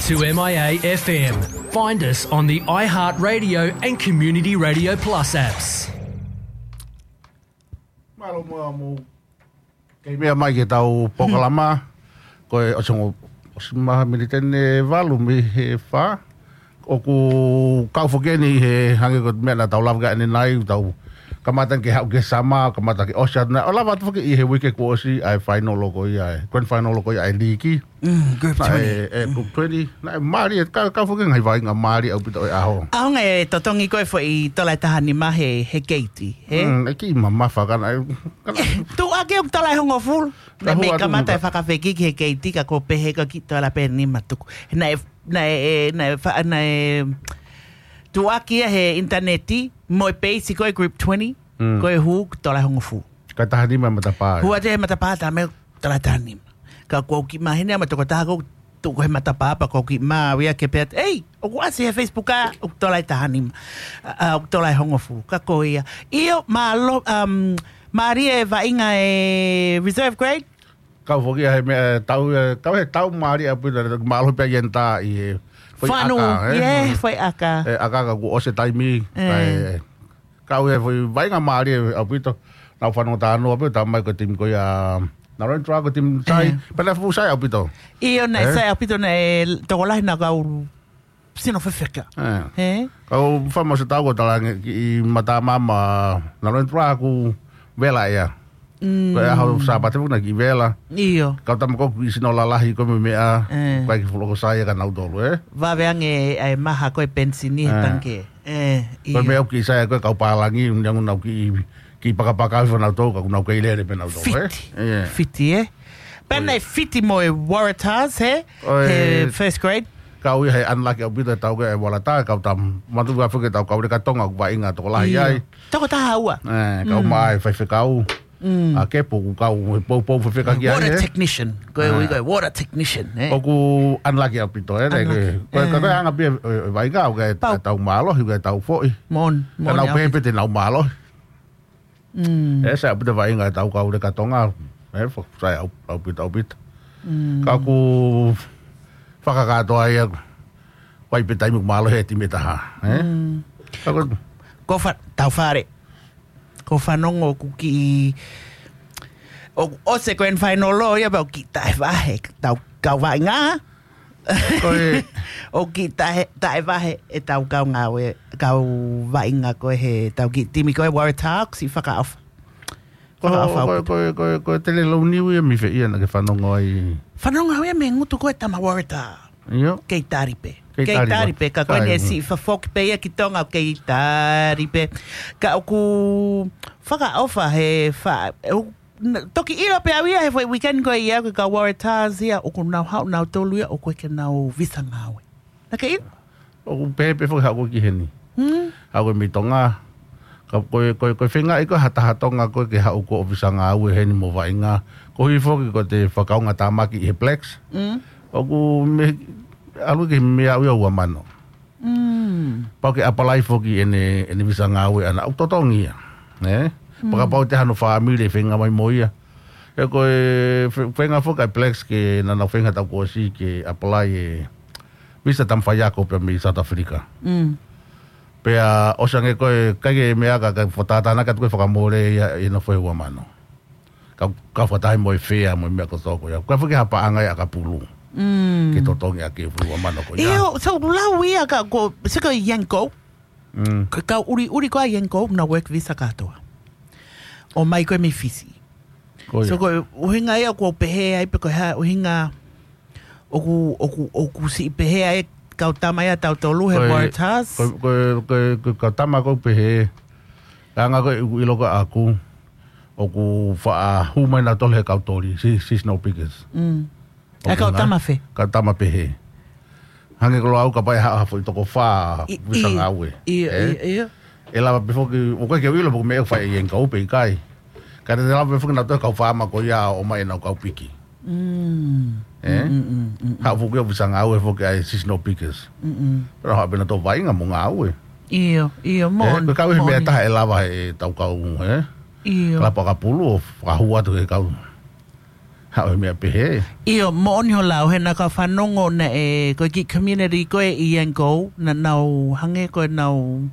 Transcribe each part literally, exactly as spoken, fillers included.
To M I A F M. Find us on the iHeartRadio and Community Radio Plus apps. Mālō muʻa mou kei meʻa mai ki heʻetau polokalama. Ko e ʻosi ongo, ʻosi maha miniti ʻe valu mei he fā. ʻOku kau foki eni he hangē ko e meʻa naʻa tau lave ki ai ʻanenai, tau kamata ke haʻu ki he summer, kamata ke ʻosi atu nai. ʻO lava atu foki ʻi he uike kuo ʻosi ʻa e final ko ia, ʻa e grand final ko ia ʻa e līki. Mm, group Naʻe, twenty. ʻe, group twenty. Naʻe mālie, kau, kau foki ngaahi vaʻinga mālie ʻaupito ʻo e ʻaho. ʻAho ngaahi totongi ko e foʻi tola ʻe taha nima he, he keiti, he? Mm, ʻe kiʻi mamafa ka naʻe, ka naʻe Tuʻaki ʻoku tola ʻe hongofulu. Naʻe Ka mei hua atu kamata ka e fakafekiki he keiti ka ko e pehē ko e kiʻi tola pē nima tuku. Naʻe, naʻe, e, naʻe fa-, naʻe tuʻaki ia he ʻinitaneti, mo e peisi ko e group twenty, Mm. ko e hū tola ʻe hongofulu. Ka taha nima matapā. Hū atu he matapā tā mei tola ʻe taha nima. Ka ʻoku ou kiʻi maheni ʻa e tokotaha ko e tuʻu ko e matapā pea ʻoku ou kiʻi maʻu ia ke pehē atu, "Ei, ʻoku ʻasi he Facebook ʻa, ʻoku tola ʻe taha nima. ʻA, ʻoku tola ʻe hongofulu." Ka ko ia. ʻIo, mālō, um, mālie e vaʻinga e reserve grade? Kau foki ʻa he meʻa, e, tau, e, kau he tau mālie ʻaupito, mālō pē ʻa Ienta ʻi he foʻi Fanu, ʻaka, e? ie, foʻi ʻaka. E, ʻaka ka kuo ʻosi e taimi, E. ka e, Kau he foʻi vaʻinga mālie ʻaupito. Naʻa ku fanongo talanoa pē, tā mai ko e timi ko ia, Narrabri ko e timi sai, E. pea naʻe fuʻu sai ʻaupito. ʻIo, naʻe E. sai ʻaupito, naʻe tokolahi naʻa kau sino fefeka. E. E? Kau fai mo se tau ko e talaange ki he matamama Narrabri ʻoku vela ia. Mm. Ko e ʻaho Sāpate foki naʻe kiʻi vela. ʻIo. Kau tama ko e kiʻi sino lalahi ko e meʻa, E. ko e kiʻi fuʻu loko sai ʻa kinautolu, e? Vave ange ʻa e maha ko e penisini he E. tangikē. E, Ko e ʻio. meʻa ʻoku kiʻi sai ko e kau pālangi, ʻuhinga ʻoku nau kiʻi, kiʻi pakapakau ʻi fanautolu, ka ʻoku nau kei lele pē nautolu, e? Fiti. E. Fiti, e? Pea ʻOi. naʻe fiti mo e Waratahs, he? ʻOi. He first grade? Kau ia he unlucky ʻaupito e tau ko e Waratahs, kau tam-, matu ka foki e tau kau Leka Tonga, ʻoku vaʻinga tokolahi ʻIo. ai. Toko taha ua. E, kau Mm. mai faifekau. Mm. ʻA Kepu, ʻoku kau he poupou fefeka ki ai, Water e? technician. Ko e E. ui ko e water technician, e? ʻOku unlucky ʻaupito, e? Unlucky. Ko e, ko e, E. ko e anga pē e, e, vaʻinga, ʻoku ʻikai Pau. ke tau mālohi, ʻoku ʻikai ke tau foʻi. Moʻoni, Ka moʻoni nau pehē ʻaupito. pē te nau mālohi. Mm. E, sai ʻaupito vaʻinga e tau kau Leka Tonga. E, fo-, sai ʻau-, ʻaupito, ʻaupito. Mm. Ka ʻoku fakakātoa ia, ʻoku ʻi ai pē taimi ʻoku mālohi e timi ʻe taha, e? Mm. Ka ko Ko fa-, tau fale. Ko e fanongo ʻoku kiʻi, ʻoku ʻosi e grand final ʻo ia pea ʻoku kiʻi taʻevahe, tau kau vaʻinga. Ko e ʻOku kiʻi taʻe, taʻevahe e tau kau ngāue, kau vaʻinga ko e he tau kiʻi timi ko e Waratahs, ʻoku siʻi fakaʻofa. Ko, Fakaʻofa ko, ʻaupito. ko, ko, ko e tele launiu ia mei fē ia naʻa ke fanongo ai? Fanongo au ia mei he ngutu ko e tama Waratahs. ʻIo. Kei tali pē. Kei Kei tali tali pē. pē, ka ko ʻene Kai. siʻi fafoki pē ia ki Tonga kei tali pē. Ka ʻoku fakaʻofa he fa-, ʻoku, n-, toki ʻilo pē au ia he foʻi weekend ko ia ko e kau Waratahs ia, ʻoku nau haʻu nautolu ia, ʻoku ʻikai ke nau visa ngāue. Naʻa ke ʻilo? ʻOku pehē pē foki haʻu ko ē ki heni. Hmm? Haʻu ko ē mei Tonga. Ka ko e, ko e, ko e feinga ia ko e ha taha Tonga ko ē ke haʻu ko e visa ngāue heni mo vaʻinga. Koeʻuhi foki ko ʻete fakaʻaongaʻi tāmaki ʻi he Blacks. Mm. ʻOku mei, ʻalu ki he meʻa ʻe ua mano. Mm. Pau ke apply foki ʻene, ʻene visa ngāue ʻana ʻoku totongi ia. Ne? Mm. Pea kapau ʻe ʻi ai hano fāmili ʻe feinga mai mo ia. He ko e fe-, feinga foki ʻa e Blacks ke naʻa nau feinga he taʻu kuo ʻosi ke apply e visa tama faiako pea mei South Africa. Mm. Pea ʻosi ange ko e ʻikai ke meʻa ka, ka fakatātā ʻana ka tuku e fakamole ia ʻi he nofo ʻe ua mano. Ka, ka fakataha mo e fea mo e meʻa kotoa ko ia. Ka foki ha paʻanga ia ʻakapulu. Mm. Ke totongi ʻaki e ua mano ko ia. ʻIo, so lau ia ka ko, se ko Yanko. Mm. Ka, ka ʻuli, ʻuli ko ē Yanko, na work visa kātoa. ʻOmai ko ē mei Fisi. Ko ia. So ko e ʻuhinga ia ʻoku ou pehē ai pe ko e hā ʻuhinga ʻoku, ʻoku, ʻoku siʻi pehē ai kau tama ia tautolu he Ko e, Waratahs. ko e, ko e, ko e, ko e kau tama ʻoku ou pehē. Ka anga ko e ʻoku ʻilo ko ē ʻaku. ʻOku faʻa hū mai nautolu he kau toli, si-, seasonal pickers. Mm. ʻOku ʻE kau ngai-, tama fē? kau tama pehē. Hangē ko ʻeku lau kapau ʻe haʻu ha foʻi toko fā, I-, visa i-, ngāue. ʻIo, E? ʻio, ʻio. ʻE lava pē foki, ʻoku ʻikai ke u ʻilo pe ko e meʻa ʻoku fai ʻe Yanko pe ʻikai. Ka te lava pē foki nautolu kau faama ko ia ʻo ʻomai ʻenau kau piki. Mm. E? Mm, mm, mm, mm, mm. Haʻu foki ʻo visa ngāue foki ʻa e seasonal pickers. Mm, mm. Pea haʻu pē nautolu vaʻinga mo ngāue. ʻIo, ʻio, E? moʻoni, Ko e kau he meʻa moʻoni. taha ʻe lava he tau kau, e? ʻIo. Kalapu ʻakapulu ʻo fakahū atu he kau Haʻu he meʻa pehē. ʻIo, moʻoni hoʻo lau, he naʻa ku fanongo naʻe, ko e kiʻi community ko ē ʻi Yangon, naʻa nau hangē ko ʻenau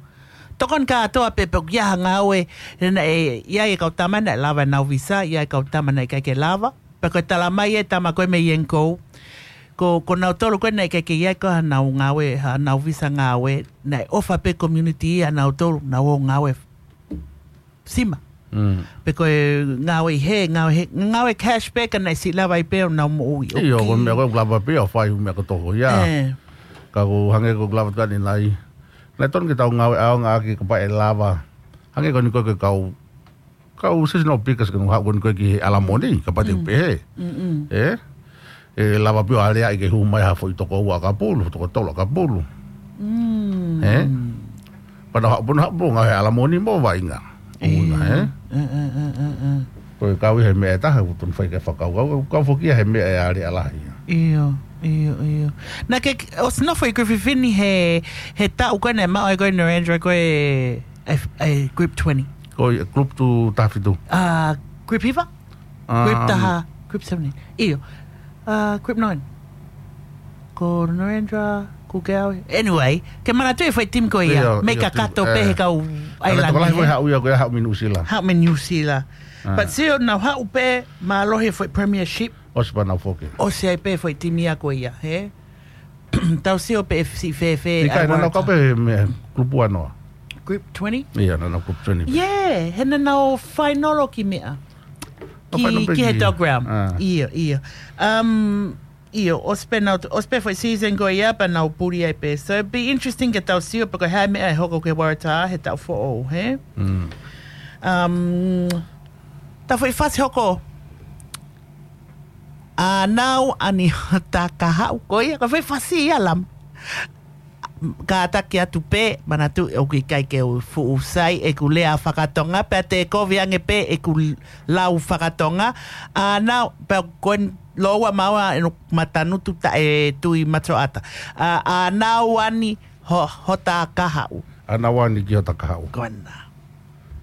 tokoni kātoa pē pe ʻoku ʻi ai ha ngāue, he naʻe ʻi ai e kau tama naʻe lava ʻenau visa, ʻi ai e kau tama naʻe ʻikai ke lava. Pea ko e tala mai e tama ko ē mei Yangon, ko, ko nautolu ko ē naʻe ʻikai ke ʻi ai ko haʻanau ngāue, haʻanau visa ngāue, naʻe ʻofa pē community ia nautolu, nau ō ngāue sima. Mm. Pe ko e ngāue ʻi hē, ngāue hē, ngāue cash pē ka naʻe siʻi lava ai pē ʻenau moʻui. ʻIo, ko e meʻa ko ē ʻoku lava pē ʻo fai, meʻa ko e toko ia. ʻĒ. Ka ʻoku hangē ko e lava tuʻu ni nai. Naʻe tonu ke tau ngāue ʻaonga ʻaki kapau ʻe lava. Hangē ko eni ko e kau, kau seasonal pickers ke nau haʻu ko eni ko ē ki he alamoni, kapau te u pehē. Mm, mm. ʻE? ʻE lava pē ʻo aleaʻi ke hū mai ha foʻi toko ua ʻakapulu, toko tolu ʻakapulu. Mm. ʻE? Pea nau haʻu pē, nau haʻu pē ngāue he alamoni mo vaʻinga. ʻIo. ʻUhinga, ʻe? ʻE, ʻe, ʻe, ʻe, ʻe. Ko e kau ʻi he meʻa ʻe taha, ʻoku tonu fai ke fakakaukau, kau, kau foki ia he meʻa ʻe alea lahi. ʻIo, ʻio, ʻio. Naʻa ke, ʻosi nofo ʻi Griffith ni he, he taʻu ko ē naʻe maʻu ai ko ē Narendra ko ē, e, e group twenty. Ko e group two taha fitu. Ah, group hiva? Um, Group taha, group seventeen. ʻIo. Ah, group nine. Ko Narendra, ko Gau. Anyway, ke manatuʻi e foʻi team ko ia. ʻIo, mei ʻio, kakato team, pē ʻe. He kau ʻAilani, tokolahi foʻi ē. Haʻu ia ko ia haʻu mei Nuʻusila. Haʻu mei Nuʻusila. Ah. But sio nau haʻu pē mālohi e foʻi premiership. ʻOsi pea nau foki. ʻOsi ai pē foʻi team ia ko ia, hē? Tau sio pē ʻe siʻi fēfē. ʻIkai, naʻa nau kau pē he meʻa, group ua noa. Group twenty? ʻIo, naʻa nau group twenty. Yeah, he naʻa nau fainolo ki meʻa. Nau fainolo pē ki he ki Dog Round. Ah. ʻIo, ʻio. Um, ʻio, ʻosi pē nau, ʻosi pē foʻi season ko ia pea nau puli ai pē. So it'd be interesting ke tau sio pe ko e hā e meʻa ʻe hoko ki he Waratā he taʻu foʻou, hē? Mm. Um, ta foʻi fasi hoko. ʻĀnau ani hota kahaʻu ko ia, ko e foʻi fasi ia Lama. Kātaki atu pē, manatuʻi ʻoku ʻikai ke u fuʻu sai ʻeku lea fakatonga, pea te kovi ange pē ʻeku lau fakatonga. ʻĀnau, pea ko e lōua maua ʻe no matanutu taʻe tui matoʻata. ʻA, ʻānau ani ho-, hota kahaʻu. ʻĀnau ani ki hota kahaʻu. Ko ena.